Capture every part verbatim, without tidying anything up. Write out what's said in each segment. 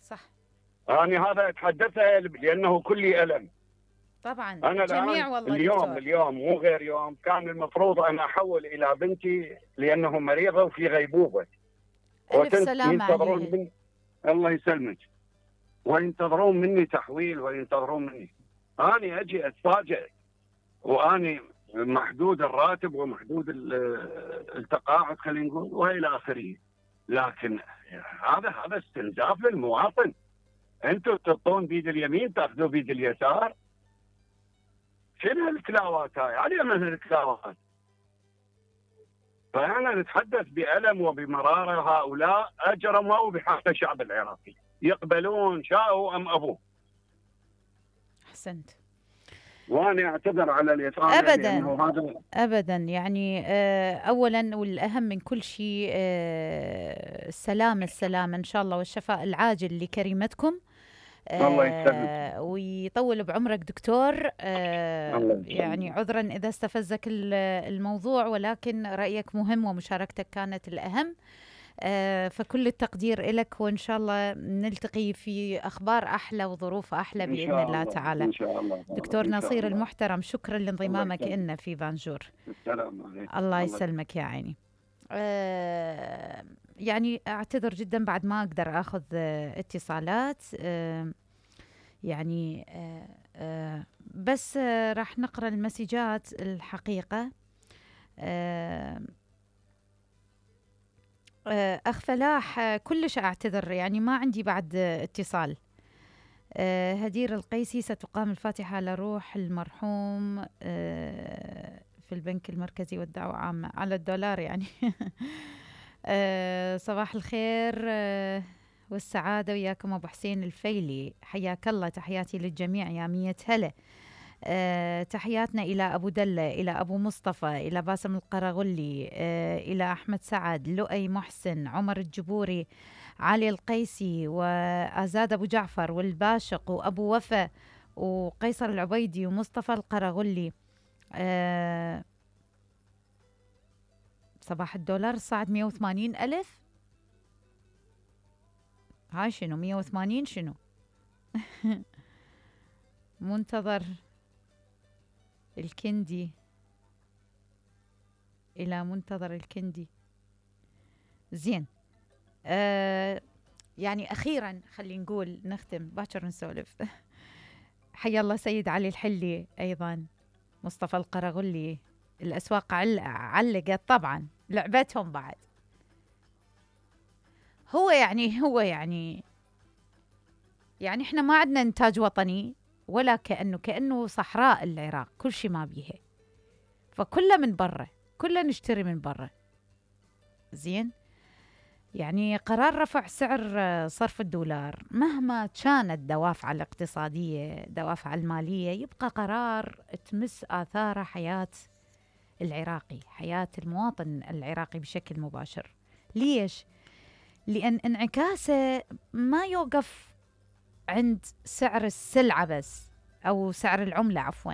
صح. أنا هذا أتحدثه لأنه كلي ألم. طبعا أنا الجميع الآن والله اليوم دكتور. اليوم مو غير يوم كان المفروض أن أحول إلى بنتي لأنه مريضة وفي غيبوبة. ألف سلامة وينتظرون عليها. من الله يسلمك، وينتظرون مني تحويل وينتظرون مني. أنا أجي أتفاجئ وأني محدود الراتب ومحدود التقاعد خلينا نقول والى اخره. لكن هذا هذا استنزاف للمواطن. انتم تعطون بيد اليمين تاخذوا بيد اليسار. شنو هالكلاوات هاي؟ علي من هالكلاوات. فاحنا نتحدث بألم وبمرارة. هؤلاء اجرموا بحق الشعب العراقي، يقبلون شاءوا ام ابوا. احسنت. وانا اعتذر على الاطاله ابدا هذا ابدا يعني اولا والاهم من كل شيء السلامه السلامه ان شاء الله والشفاء العاجل لكريمتكم. الله يسلمك ويطول بعمرك دكتور. الله يعني عذرا اذا استفزك الموضوع، ولكن رايك مهم ومشاركتك كانت الاهم. آه فكل التقدير لك، وإن شاء الله نلتقي في أخبار أحلى وظروف أحلى بإذن الله, الله تعالى. إن شاء الله. دكتور إن شاء نصير الله. المحترم، شكرا لانضمامك لنا في بانجور. السلام عليكم. الله يسلمك يا عيني. آه يعني أعتذر جدا بعد ما أقدر أخذ آه اتصالات. آه يعني آه آه بس آه راح نقرأ المسجات الحقيقة. آه أخ فلاح كلش أعتذر، يعني ما عندي بعد اتصال. هدير القيسي ستقام الفاتحة لروح المرحوم في البنك المركزي والدعوة عامة على الدولار يعني. صباح الخير والسعادة وياكم أبو حسين الفيلي، حياك الله. تحياتي للجميع يا مية هلا. أه تحياتنا إلى أبو دلة، إلى أبو مصطفى، إلى باسم القرغلي، أه إلى أحمد سعد، لؤي محسن، عمر الجبوري، علي القيسي، وآزاد أبو جعفر، والباشق، وأبو وفا، وقيصر العبيدي، ومصطفى القرغلي. أه صباح الدولار صعد مية وثمانين ألف. هاي شنو مية وثمانين شنو؟ منتظر الكندي، إلى منتظر الكندي. زين. آه يعني أخيرا خلينا نقول نختم باكر نسولف. حيا الله سيد علي الحلي، أيضا مصطفى القرغلي. الأسواق عل... علقت طبعا، لعبتهم بعد. هو يعني هو يعني يعني احنا ما عندنا إنتاج وطني، ولا كأنه كأنه صحراء العراق، كل شيء ما بيها، فكله من برا، كله نشتري من برا. زين. يعني قرار رفع سعر صرف الدولار مهما كانت دوافع الاقتصادية دوافع المالية، يبقى قرار تمس آثار حياة العراقي، حياة المواطن العراقي بشكل مباشر. ليش؟ لأن انعكاسه ما يوقف عند سعر السلعة بس، أو سعر العملة عفواً،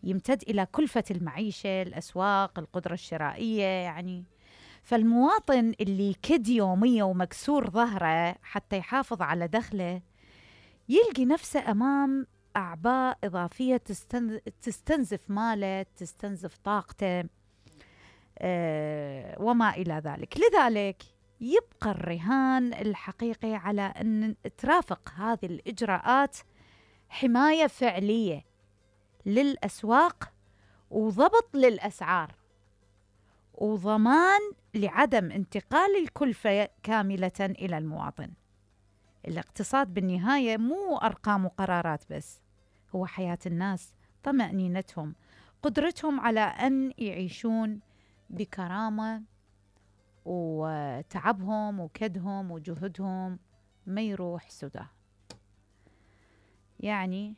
يمتد إلى كلفة المعيشة، الأسواق، القدرة الشرائية. يعني فالمواطن اللي كد يومية ومكسور ظهره حتى يحافظ على دخله، يلقي نفسه أمام أعباء إضافية تستنزف ماله، تستنزف طاقته، أه وما إلى ذلك. لذلك يبقى الرهان الحقيقي على أن ترافق هذه الإجراءات حماية فعلية للأسواق، وضبط للأسعار، وضمان لعدم انتقال الكلفة كاملة إلى المواطن. الاقتصاد بالنهاية مو أرقام وقرارات بس، هو حياة الناس، طمأنينتهم، قدرتهم على أن يعيشون بكرامة، وتعبهم وكدهم وجهدهم ما يروح سدى. يعني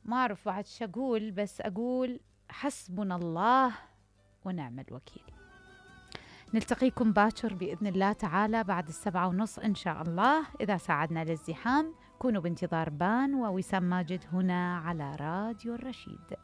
ما أعرف بعد شو أقول، بس أقول حسبنا الله ونعم الوكيل. نلتقيكم باكر بإذن الله تعالى بعد السبعة ونص إن شاء الله، إذا ساعدنا للزحام. كونوا بانتظار بان ووسام ماجد هنا على راديو الرشيد.